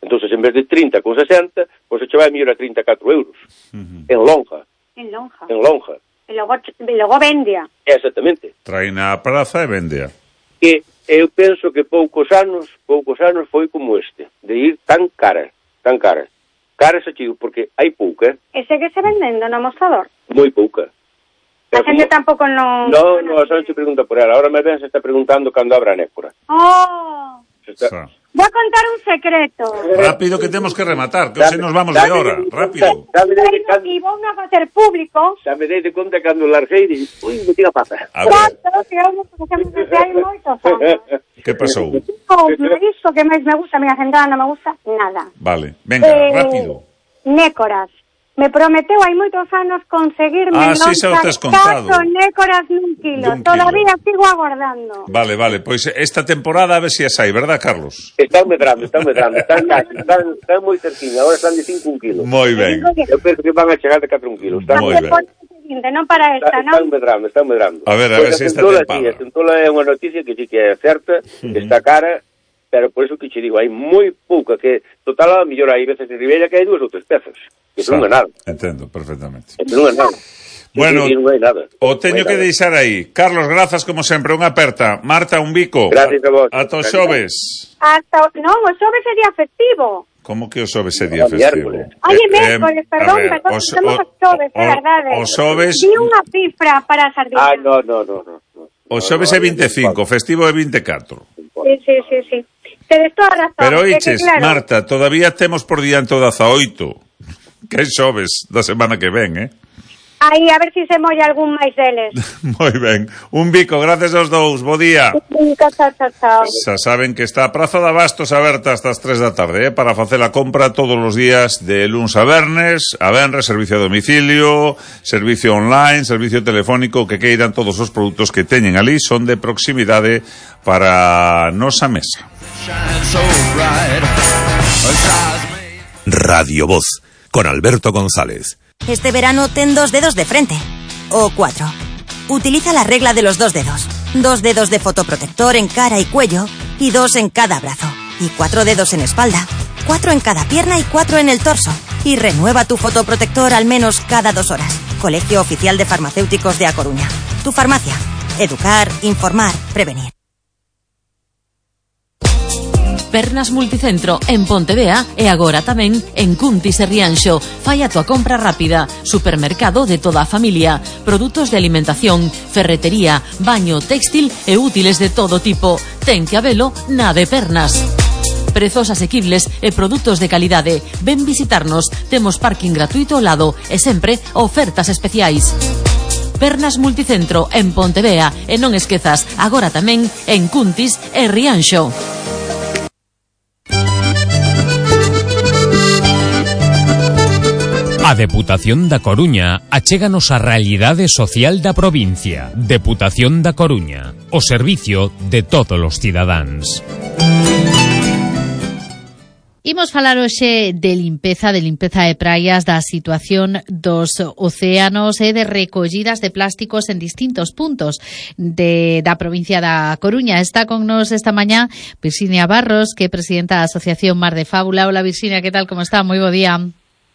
Entón, en vez de 30,60, pois se che vai mellor a 34 euros. En lonja. En lonja. E logo vendia. Exactamente. Trae na praza e vendea. Que eu penso que poucos anos foi como este, de ir tan cara. Cara se chido, porque hai pouca. E segue se vendendo no mostrador? Moi pouca. A xente tampouco non... No, a xente pregunta por ela. Ahora me ven se está preguntando cando abra a nécora. Oh! Vou a contar un secreto. Rápido que temos que rematar, que hoxe nos vamos de hora. Rápido. E vou a facer público. Xa me dei de conta cando larguei e dixo, ui, me tira pata. Claro, que eu non conocemos desde hai moitos anos. Que pasou? Iso que máis me gusta, a miña sentada non me gusta nada. Vale, venga, rápido. Nécoras. Me prometeu hai moitos anos conseguirme sí, xa o tes contado. 4 nécoras nun kilo. Todavía sigo aguardando. Vale, pois esta temporada a ver se as hai, verdad, Carlos? Están medrando. Están moi cerquinha, agora están de 5 un kilo. Moi ben. Eu penso que van a chegar de 4 un kilo. Moi ben. Non para esta, non? Están medrando. A ver se esta temporada. A Centola é unha noticia que sí que é certa, que está cara, pero por eso que che digo, hai moi pouca, que total a mellor hai veces en Ribeira que hai 2 ou 3 pezas. Eso non é nada. Entendo, perfectamente. Eso non é nada. Bueno, non é nada. O teño que deixar aí. Carlos, grazas como sempre, unha aperta. Marta, un bico. Gracias a vos. Ata o xoves. Non, o xoves é día festivo. Como que o xoves é día festivo? Oye, mércoles, perdón, temos o xoves, é verdade. O xoves... Di unha cifra para a sardina. No. O xoves é 25, festivo é 24. Sí. Tedes toda a razón. Pero oiches, claro, Marta, todavía temos por diante o 18. Que é xoves da semana que ven, Aí, a ver se se molla algún máis deles. Moi ben. Un bico, gracias aos dous. Bo día. Chao. Xa saben que está a Praza de Abastos aberta hasta as 3 da tarde, para facer a compra todos os días de luns a venres, servicio a domicilio, servicio online, servicio telefónico, que queiran todos os produtos que teñen ali, son de proximidade para nosa mesa. Radio Voz, con Alberto González. Este verano ten 2 dedos de frente. O 4. Utiliza la regla de los 2 dedos. 2 dedos de fotoprotector en cara y cuello y 2 en cada brazo. Y 4 dedos en espalda. 4 en cada pierna y 4 en el torso. Y renueva tu fotoprotector al menos cada 2 horas. Colegio Oficial de Farmacéuticos de A Coruña. Tu farmacia. Educar, informar, prevenir. Pernas Multicentro en Pontevea e agora tamén en Cuntis e Rianxo. Fai a tua compra rápida. Supermercado de toda a familia. Produtos de alimentación, ferretería, baño, textil e útiles de todo tipo. Ten que habelo na de Pernas. Prezos asequibles e produtos de calidade. Ven visitarnos. Temos parking gratuito ao lado e sempre ofertas especiais. Pernas Multicentro en Pontevea e non esquezas, agora tamén en Cuntis e Rianxo. A Deputación da Coruña achéganos a realidade social da provincia. Deputación da Coruña, o servicio de todos os cidadáns. Imos falar hoxe de limpeza de praias, da situación dos océanos e de recollidas de plásticos en distintos puntos da provincia da Coruña. Está con nos esta mañá Virxinia Barros, que é presidenta da Asociación Mar de Fábula. Hola Virxinia, que tal, como está? Moi bo día.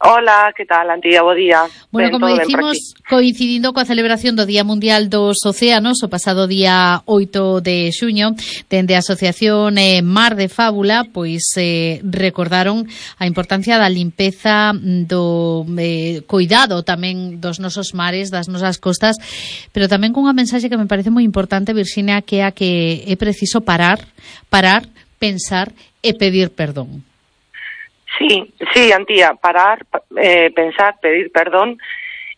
Hola, que tal, Antía? Bo día. Bueno, como dicimos, coincidindo coa celebración do Día Mundial dos Océanos, o pasado día 8 de xuño, dende a Asociación Mar de Fábula, pois recordaron a importancia da limpeza, do cuidado tamén dos nosos mares, das nosas costas, pero tamén cunha mensaxe que me parece moi importante, Virxinia, que é a que é preciso parar, pensar e pedir perdón. Sí, Antía, parar, pensar, pedir perdón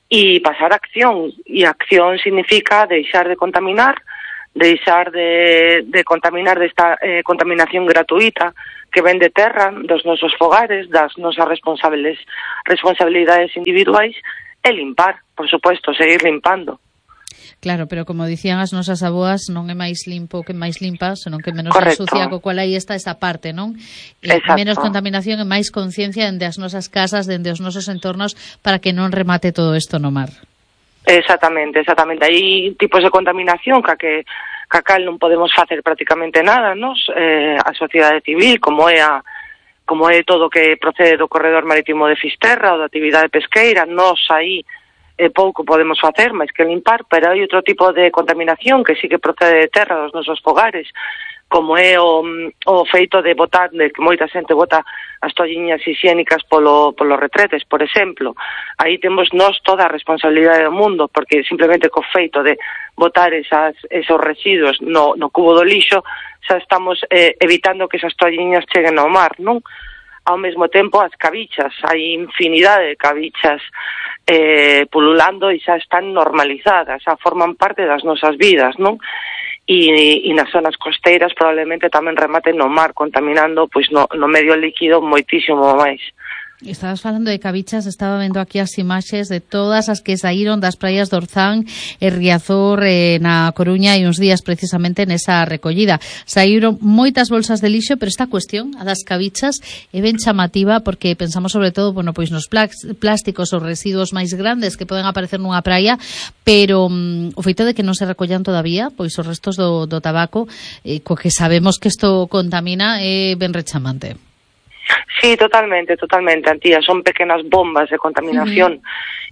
y pasar a acción. Y acción significa deixar de contaminar, deixar de contaminar desta contaminación gratuita que ven de terra, dos nosos fogares, das nosas responsabilidades individuais, e limpar, por suposto, seguir limpando. Claro, pero como dicían as nosas aboas, non é máis limpo que máis limpa, senón que menos ensucia, co cual aí está esa parte, non? Menos contaminación e máis conciencia dende as nosas casas, dende os nosos entornos, para que non remate todo isto no mar. Exactamente. Hai tipos de contaminación que a cal non podemos facer prácticamente nada, nos? A sociedade civil, como é todo o que procede do corredor marítimo de Fisterra ou da actividade pesqueira, nos aí pouco podemos facer, máis que limpar, pero hai outro tipo de contaminación que sí que procede de terra dos nosos fogares, como é o feito de botar, de que moita xente bota as toalliñas higiénicas polos retretes, por exemplo. Aí temos nós toda a responsabilidade do mundo, porque simplemente co feito de botar esos residuos no cubo do lixo, xa estamos evitando que esas toalliñas cheguen ao mar, non? Ao mesmo tempo, as cabichas, hai infinidade de cabichas pululando e xa están normalizadas, xa forman parte das nosas vidas, non? E nas zonas costeiras probablemente tamén rematen no mar, contaminando pois no medio líquido moitísimo máis. Estabas falando de cabichas, estaba vendo aquí as imaxes de todas as que saíron das praias de Orzán e Riazor na Coruña e uns días precisamente nesa recollida. Saíron moitas bolsas de lixo, pero esta cuestión, a das cabichas, é ben chamativa porque pensamos sobre todo, bueno, pois nos plásticos ou residuos máis grandes que poden aparecer nunha praia, pero o feito de que non se recollan todavía, pois os restos do tabaco, co que sabemos que isto contamina, é ben rechamante. Sí, totalmente, Antía. Son pequenas bombas de contaminación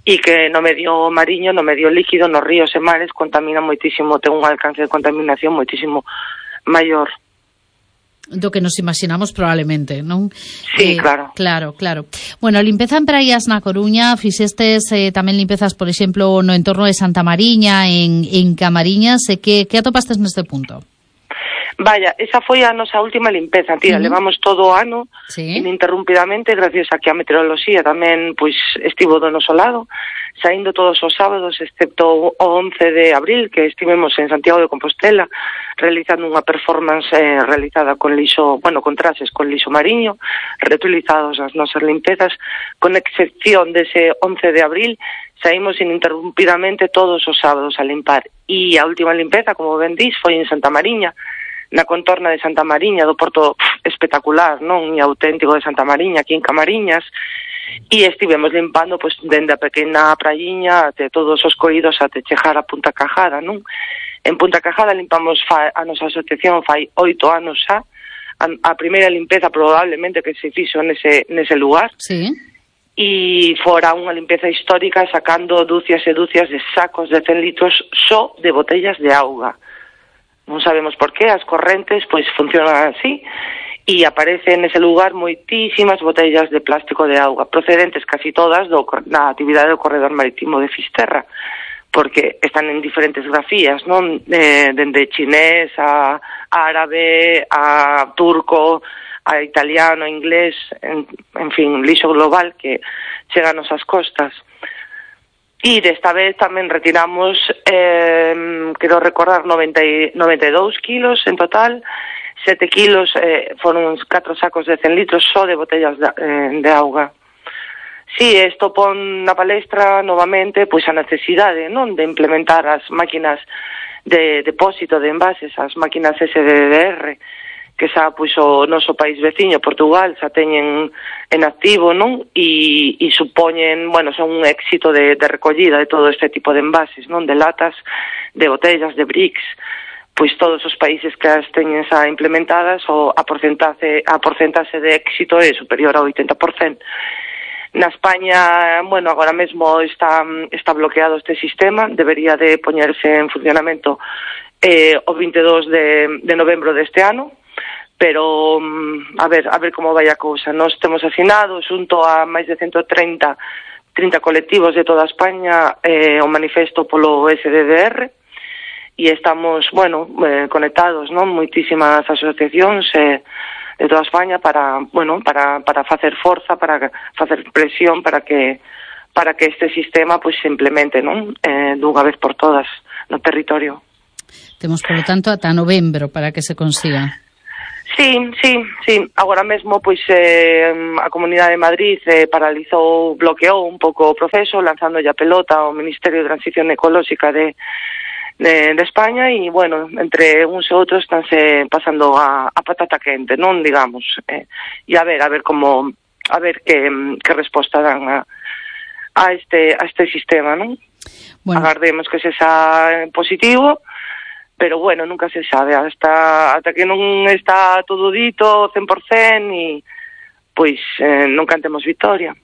e que no medio mariño, no medio líquido, nos ríos e mares contamina moitísimo, ten un alcance de contaminación moitísimo maior do que nos imaginamos probablemente, non? Sí, claro. Bueno, limpeza en praias na Coruña, fixestes tamén limpezas, por exemplo, no entorno de Santa Mariña, en Camariñas, que atopastes neste punto? Vaya, esa foi a nosa última limpeza, tía, levamos todo o ano ininterrumpidamente, gracias a que a meteoroloxía tamén pois estivo do noso lado, saindo todos os sábados, excepto o 11 de abril, que estivemos en Santiago de Compostela, realizando unha performance realizada con lixo, con traxes con lixo mariño, reutilizados as nosas limpezas, con excepción dese 11 de abril, saímos ininterrumpidamente todos os sábados a limpar. E a última limpeza, como ben dís, foi en Santa Mariña, na contorna de Santa Mariña, do porto espectacular, non? E auténtico de Santa Mariña, aquí en Camariñas, e estivemos limpando pois dende a pequena prayiña até todos os coídos até chegar a Punta Cajada, non? En Punta Cajada limpamos a nosa asociación fai 8 anos xa, a primeira limpeza probablemente que se fixo nese lugar. Sí. E fora unha limpeza histórica sacando dúcias e dúcias de sacos de 100 litros só de botellas de auga. Non sabemos por qué, as correntes pois funcionan así e aparecen nese lugar moitísimas botellas de plástico de auga, procedentes casi todas da actividade do corredor marítimo de Fisterra, porque están en diferentes grafías, non? Dende chinés a árabe, a turco, a italiano, a inglés, en fin, lixo global que chega a nosas costas. E desta vez tamén retiramos, quero recordar, 92 kilos en total, 7 kilos foron 4 sacos de 100 litros só de botellas de auga. Sí, isto pon na palestra novamente pois a necesidade, non, de implementar as máquinas de depósito de envases, as máquinas SDDR, que xa pois o noso país veciño, Portugal, xa teñen en activo, non? E supoñen, son un éxito de recollida de todo este tipo de envases, non? De latas, de botellas, de bricks, pois todos os países que as teñen xa implementadas, a porcentaxe de éxito é superior ao 80%. Na España, bueno, agora mesmo está bloqueado este sistema, debería de poñerse en funcionamento o 22 de novembro deste ano, pero a ver como vai a cousa. Nós temos asinado xunto a máis de 130 colectivos de toda España o manifesto polo SDDR e estamos, bueno, conectados, non? Moitísimas asociacións de toda España para facer forza, para facer presión para que este sistema pues se implemente, non? Dunha vez por todas no territorio. Temos, polo tanto, ata novembro para que se consiga. Sí. Agora mesmo, pois, a Comunidade de Madrid bloqueou un pouco o proceso, lanzando a pelota ao Ministerio de Transición Ecolóxica de España e, bueno, entre uns e outros estánse pasando a patata quente, non, digamos, e a ver que resposta dan a este sistema, non? Bueno. Agardemos que sexa positivo, pero bueno, nunca se sabe, ata que non está todo dito 100% e pois non cantemos victoria.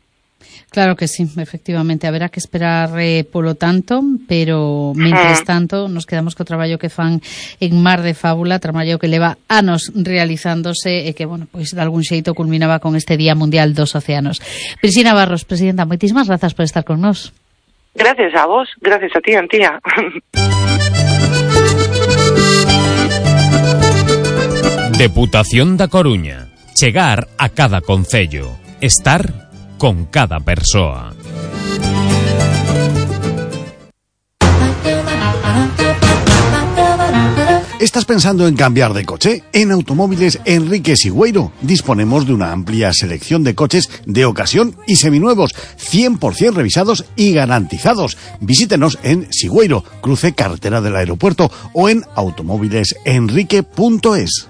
Claro que sí, efectivamente, haberá que esperar polo tanto, pero mentres tanto nos quedamos co traballo que fan en Mar de Fábula, traballo que leva anos realizándose e que, bueno, pois de algún xeito culminaba con este Día Mundial dos Océanos. Priscina Barros, presidenta, moitísimas grazas por estar con nós. Gracias a vos, gracias a ti, Antía. Deputación da Coruña. Chegar a cada concello. Estar con cada persoa. ¿Estás pensando en cambiar de coche? En Automóviles Enrique Sigüeiro disponemos de una amplia selección de coches de ocasión y seminuevos, 100% revisados y garantizados. Visítenos en Sigüeiro, cruce carretera del aeropuerto, o en automóvilesenrique.es.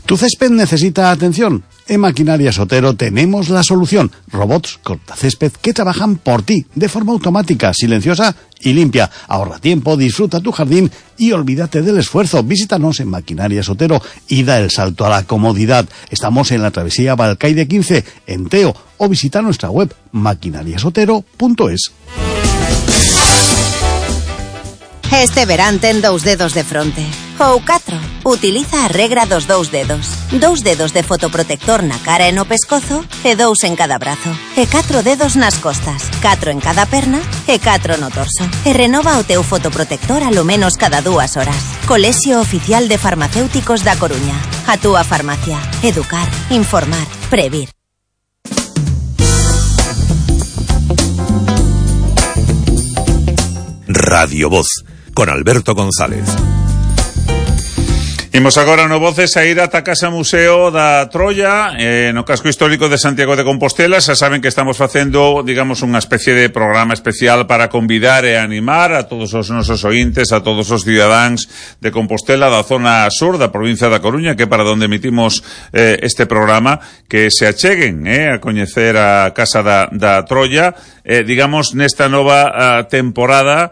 ¿Tu césped necesita atención? En Maquinarias Otero tenemos la solución. Robots cortacésped que trabajan por ti de forma automática, silenciosa y limpia. Ahorra tiempo, disfruta tu jardín y olvídate del esfuerzo. Visítanos en Maquinarias Otero y da el salto a la comodidad. Estamos en la travesía Balcaide 15, en Teo, o visita nuestra web maquinariasotero.es. Este verán ten 2 dedos de fronte. Ou 4. Utiliza a regra dos 2 dedos. 2 dedos de fotoprotector na cara e no pescozo e 2 en cada brazo. E 4 dedos nas costas. 4 en cada perna e 4 no torso. E renova o teu fotoprotector a lo menos cada 2 horas. Colexio Oficial de Farmacéuticos da Coruña. A túa farmacia. Educar, informar, previr. Radio Voz, con Alberto González. Imos agora no Voces a ir ata Casa Museo da Troia, no casco histórico de Santiago de Compostela. Xa saben que estamos facendo, digamos, unha especie de programa especial para convidar e animar a todos os nosos ointes, a todos os cidadáns de Compostela, da zona sur da provincia da Coruña, que é para onde emitimos este programa, que se acheguen a coñecer a Casa da Troia, digamos, nesta nova temporada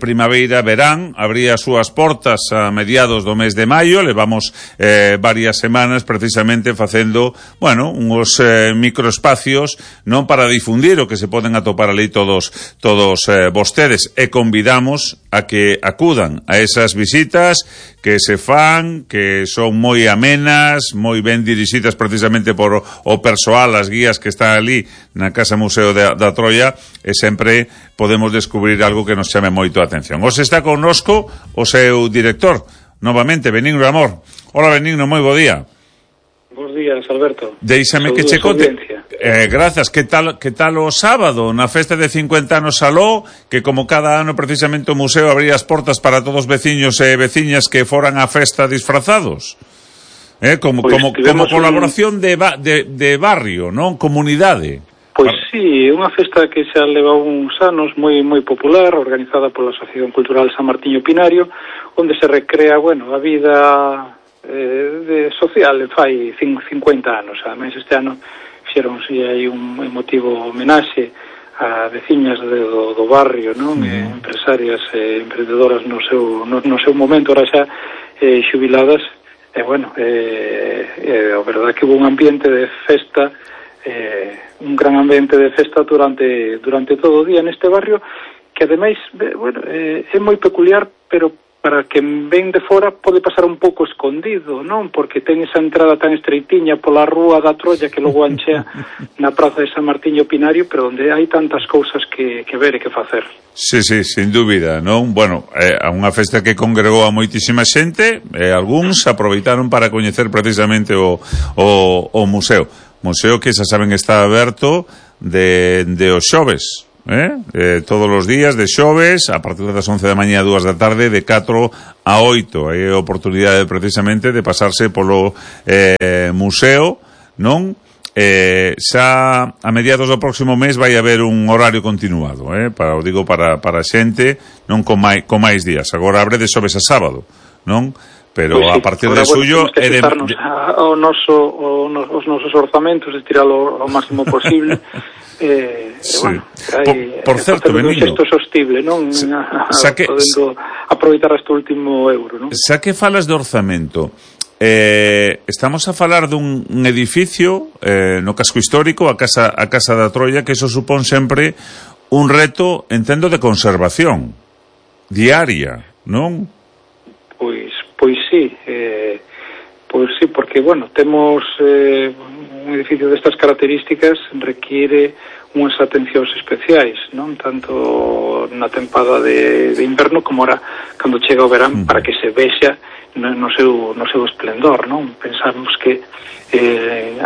primavera-verán. Abría as súas portas a mediados do mes de maio. Levamos varias semanas precisamente facendo, bueno, uns microespacios, non, para difundir o que se poden atopar ali todos vostedes, e convidamos a que acudan a esas visitas que se fan, que son moi amenas, moi ben dirixidas precisamente por o persoal, as guías que están ali na Casa Museo da Troia, e sempre podemos descubrir algo que nos chame moito a atención. Os está connosco o seu director, novamente, Benigno Amor. Hola, Benigno, moi bo día. Bos días, Alberto. Deixame que che conte. Grazas. Que tal o sábado na festa de 50 anos Saló, que como cada ano precisamente o museo abría as portas para todos os veciños e veciñas que foran á festa disfrazados? Como colaboración de barrio, non? Comunidade. Pois sí, unha festa que xa leva uns anos moi popular, organizada pola Asociación Cultural San Martiño Pinario, onde se recrea, bueno, a vida social fai 50 anos. Ademais, este ano fixeronse aí un emotivo homenaxe a veciñas do barrio, non? Empresarias e emprendedoras no seu momento, ora xa xubiladas, bueno, a verdade que hubo un ambiente de festa, un gran ambiente de festa durante todo o día neste barrio, que ademais, bueno, é moi peculiar, pero para quen ven de fora pode pasar un pouco escondido, non? Porque ten esa entrada tan estreitiña pola rúa da Trolla que logo anchea na praza de San Martiño Pinario, pero onde hai tantas cousas que ver e que facer. Sí, sin dúbida, non? Bueno, a unha festa que congregou a moitísima xente, algúns aproveitaron para coñecer precisamente o museo. Museo que xa saben está aberto de os xoves, todos os días de xoves, a partir das 11 da mañá a 2 da tarde, de 4 a 8. Hai a oportunidade precisamente de pasarse polo museo, non? Xa a mediados do próximo mes vai haber un horario continuado, para xente non con máis días. Agora abre de xoves a sábado, non? Pero a partir de xullo os nosos orzamentos de tiralo ao máximo posible. Bueno, por certo, Benigno, isto sostible, non? Podendo aproveitar este último euro, non? Xa que falas de orzamento, estamos a falar dun edificio no casco histórico, a casa da Trolla, que eso supón sempre un reto, entendo, de conservación diaria, non? Pois sí, porque, bueno, temos un edificio destas características requiere unhas atencións especiais, non? Tanto na tempada de inverno como ahora cando chega o verán, para que se vexa no seu esplendor, non? Pensamos que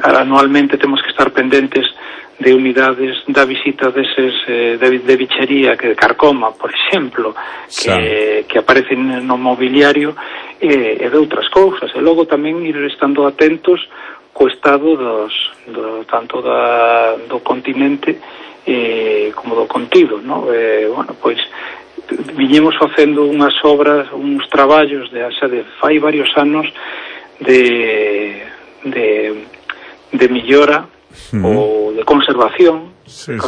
anualmente temos que estar pendentes de unidades da visita deses de bichería, que de carcoma, por exemplo, que aparecen no mobiliario, e de outras cousas, e logo tamén ir estando atentos co estado tanto do continente como do contido, non? Bueno, pois viñemos facendo unhas obras, uns traballos de fai varios anos de millora ou de conservación, e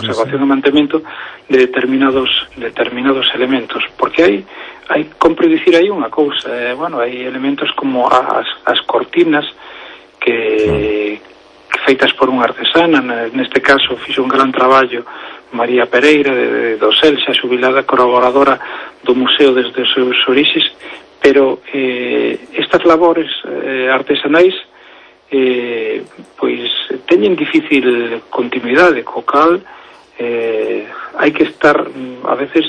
mantemento de determinados elementos, porque hai compre dicir aí unha cousa, bueno, hai elementos como as cortinas que feitas por unha artesana, neste caso fixo un gran traballo María Pereira de Celsa, xubilada, colaboradora do museo desde os seus orixes, pero estas labores artesanais pois teñen difícil continuidade, co cal hai que estar, a veces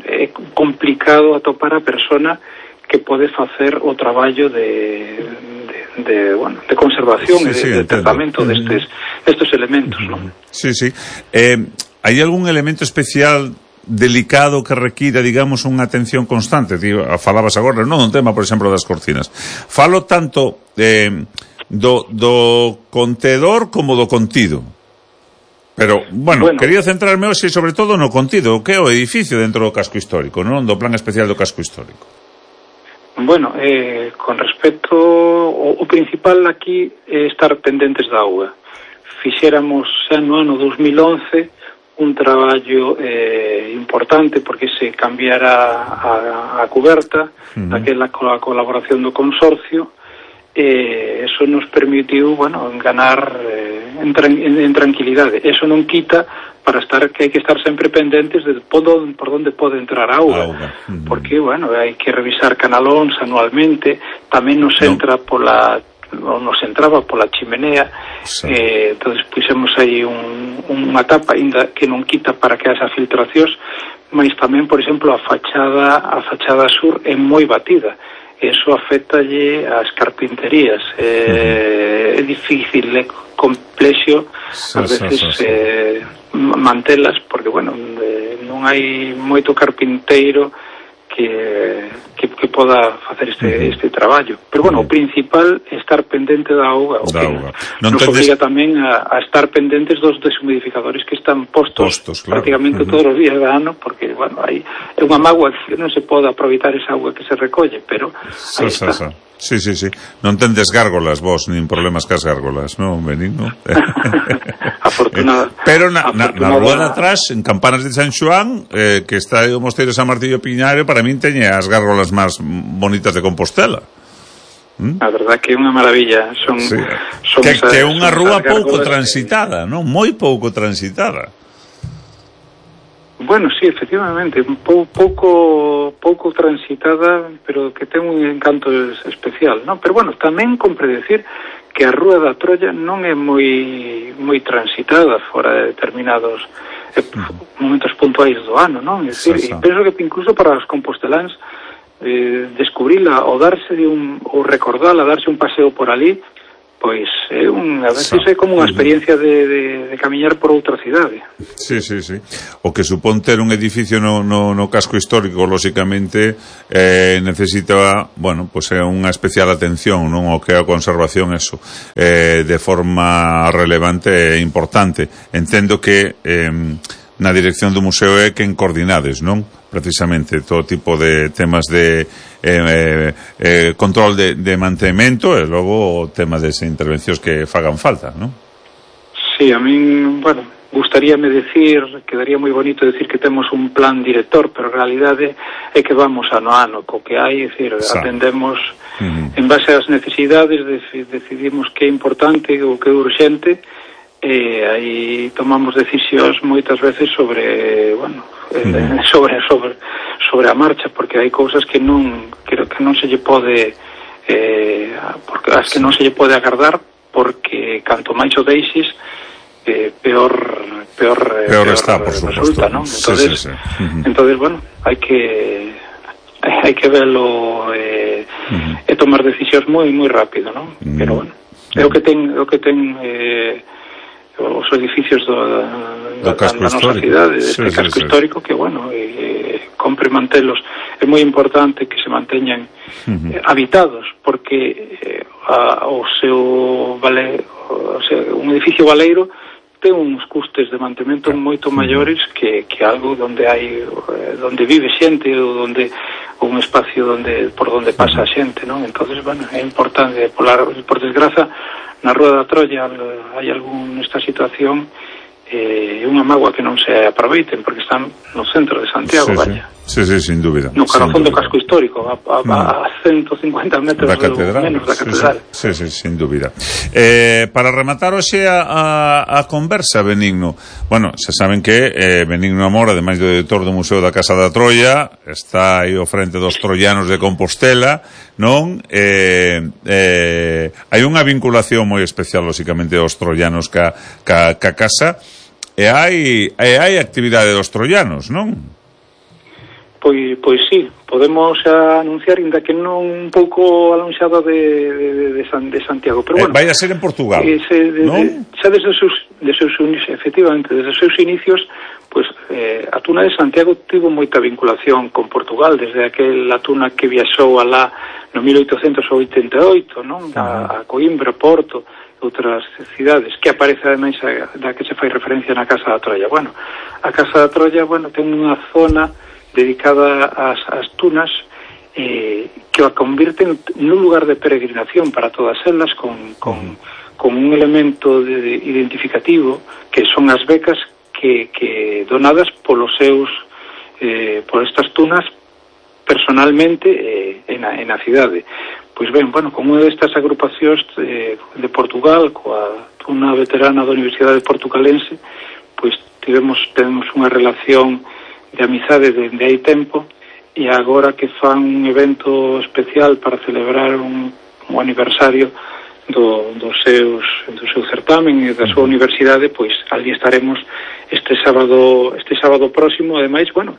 é complicado atopar a persona que pode facer o traballo de conservación e de tratamento destes elementos, non? Sí. Hai algún elemento especial delicado que requira, digamos, unha atención constante? Falabas agora, non, un tema, por exemplo, das cortinas. Falo tanto do contedor como do contido. Pero, bueno, quería centrarme hoxe sobre todo no contido, o que é o edificio dentro do casco histórico, non? Do plan especial do casco histórico. Bueno, con respecto o principal aquí é estar pendentes da auga. Fixéramos xa no ano 2011 un traballo importante porque se cambiara a cuberta, daquela coa colaboración do consorcio, eso nos permitiu, bueno, ganar en tranquilidade. Eso non quita para que hai que estar sempre pendentes de por onde pode entrar a auga. Porque, bueno, hai que revisar canalóns anualmente, tamén nos entraba pola chimenea, entonces puxemos aí unha tapa ainda que non quita para que haxa filtracións, mas tamén, por exemplo, a fachada sur é moi batida. Eso afectalle ás carpinterías. É difícil, é complexo a veces mantelas, porque, bueno, non hai moito carpinteiro que poda facer este traballo. Pero, bueno, o principal é estar pendente da auga. Nos obriga tamén a estar pendentes dos deshumidificadores que están postos prácticamente todos os días do ano, porque, bueno, é unha mágoa que non se pode aproveitar esa auga que se recolle, pero aí está. Sí. Non tendes gárgolas vos, nin problemas cas gárgolas, non, Benigno? Afortunada. Pero na rúa de atrás, en Campanas de San Xoán, que está o mosteiro de San Martiño Pinario, para min teñe as gárgolas máis bonitas de Compostela. A verdad que é unha maravilla. Son que é unha rúa pouco transitada, non? Moi pouco transitada. Bueno, sí, efectivamente, pouco transitada, pero que ten un encanto especial, non? Pero bueno, tamén compre decir que a Rúa da Troia non é moi transitada fora de determinados momentos puntuais do ano, non? É dicir, e penso que incluso para os composteláns descubrila ou recordala, darse un paseo por ali, pois a veces é como unha experiencia de camiñar por outra cidade. Sí. O que supón ter un edificio no casco histórico, lóxicamente necesita, bueno, pois é unha especial atención, non? O que é a conservación, eso, de forma relevante e importante. Entendo que na dirección do museo é quen coordinades, non? Precisamente todo tipo de temas de control de mantemento e logo o tema de intervencións que fagan falta, non? Sí, a min, bueno, gustaríame decir, quedaría moi bonito decir que temos un plan director, pero a realidade é que vamos ano a ano co que hai, é dicir, atendemos en base ás necesidades, decidimos que é importante ou que é urgente, e aí tomamos decisións moitas veces sobre, bueno, sobre a marcha, porque hai cousas que non se lle pode porque as que non se lle pode agardar, porque canto máis o deixes peor está, por supuesto, resulta, ¿no? Entonces, entonces, bueno, hai que velo e tomar decisións moi rápido, ¿no? Pero bueno, é o que ten os edificios da nosa cidade, deste casco histórico, que, bueno, compre mantelos. É moi importante que se manteñan habitados, porque un edificio baleiro ten uns custes de mantemento moito maiores que algo onde vive xente ou un espacio por onde pasa a xente, non? Entonces, bueno, é importante, por desgraza, na Rúa da Troia hai esta situación, unha mágoa que non se aproveiten, porque están no centro de Santiago, vaya. Sí, sin dúbida. No corazón do casco histórico, a 150 metros menos da catedral. Sí, sin dúbida. Para rematar hoxe a conversa, Benigno, bueno, xa saben que Benigno Amor, ademais do director do Museo da Casa da Troia, está aí ao frente dos troianos de Compostela, non? Hai unha vinculación moi especial, lóxicamente, aos troianos ca casa, e hai actividade dos troianos, non? Pois sí, podemos anunciar, ainda que non un pouco alonxado de Santiago, pero bueno, vai a ser en Portugal, non? Xa desde os seus inicios, efectivamente, desde os seus inicios, pois a Tuna de Santiago tivo moita vinculación con Portugal, desde aquela Tuna que viaxou alá no 1888, non? A Coimbra, Porto, outras cidades, que aparece ademais da que se fai referencia na Casa da Troia. Bueno, a Casa da Troia, bueno, ten unha zona dedicada ás tunas que a convirten nun lugar de peregrinación para todas elas, con un elemento identificativo que son as becas que donadas polos seus por estas tunas personalmente na cidade. Pois ben, bueno, como unha destas agrupacións de Portugal, coa tuna veterana da Universidade Portucalense, pois temos unha relación de amizade dende hai tempo, e agora que fan un evento especial para celebrar un aniversario do seu certamen e da súa universidade, pois ali estaremos este sábado próximo, ademais, bueno,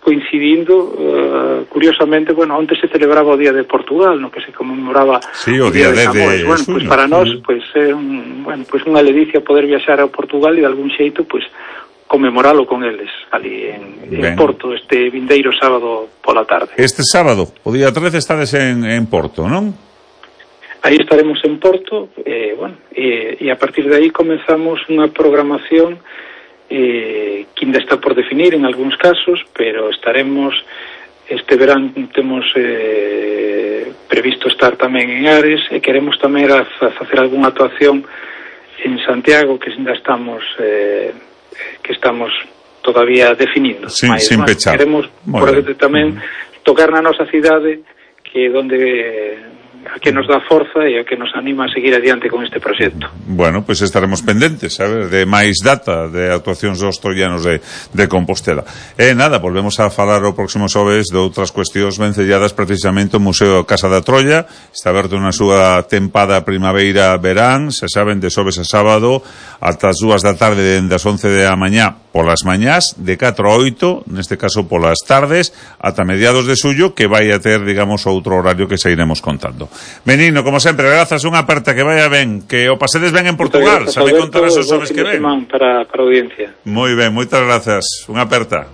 coincidindo, curiosamente, bueno, onte se celebraba o Día de Portugal, no que se conmemoraba o Día de Amores. Bueno, pois para nós, pois é unha ledicia poder viaxar a Portugal e de algún xeito, pois conmemoralo con eles ali en Porto este vindeiro sábado pola tarde. Este sábado, o día 13, estades en Porto, non? Aí estaremos en Porto, e a partir de aí comenzamos unha programación que ainda está por definir en algúns casos, pero estaremos este verán, temos previsto estar tamén en Ares, e queremos tamén facer algunha actuación en Santiago, que ainda estamos todavía definindo. Sin pechar. Queremos tamén tocar na nosa cidade, que é onde que nos dá forza e a que nos anima a seguir adiante con este proxecto. Bueno, pois estaremos pendentes, saber, de máis data de actuacións dos troianos de Compostela. E nada, volvemos a falar o próximo xoves de outras cuestións vencelladas precisamente o Museo Casa da Troia. Está aberto na súa tempada primavera-verán, se saben, de xoves a sábado ata as 2 da tarde, dende as 11 da mañá polas mañás, de 4 a 8, neste caso polas tardes, ata mediados de xullo, que vai a ter, digamos, outro horario que seguiremos contando. Menino, como sempre, grazas, unha aperta, que vaya ben, que o pasedes ben en Portugal, xa me contarás os xoves que ven. Para a audiencia. Moi ben, moitas grazas, unha aperta.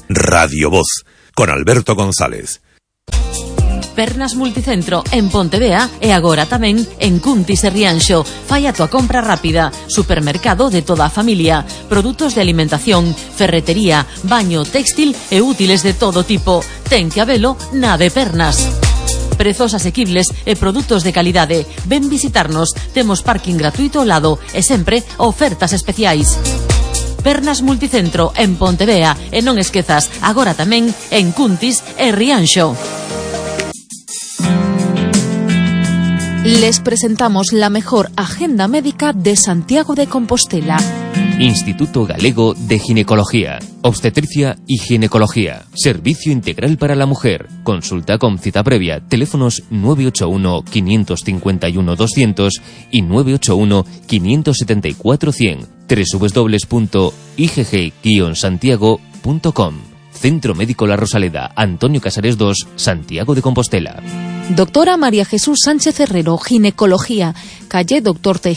Radio Voz, con Alberto González. Pernas Multicentro en Pontevea e agora tamén en Cuntis e Rianxo. Fai a tua compra rápida. Supermercado de toda a familia. Produtos de alimentación, ferretería, baño, textil e útiles de todo tipo. Ten que habelo na de Pernas. Prezos asequibles e produtos de calidade. Ven visitarnos. Temos parking gratuito ao lado e sempre ofertas especiais. Pernas Multicentro en Pontevea e non esquezas, agora tamén en Cuntis e Rianxo. Les presentamos la mejor agenda médica de Santiago de Compostela. Instituto Galego de Ginecología, Obstetricia y Ginecología. Servicio integral para la mujer. Consulta con cita previa. Teléfonos 981 551 200 y 981 574 100. www.igg-santiago.com. Centro Médico La Rosaleda, Antonio Casares 2, Santiago de Compostela. Doctora María Jesús Sánchez Herrero, Ginecología, calle Doctor Tejero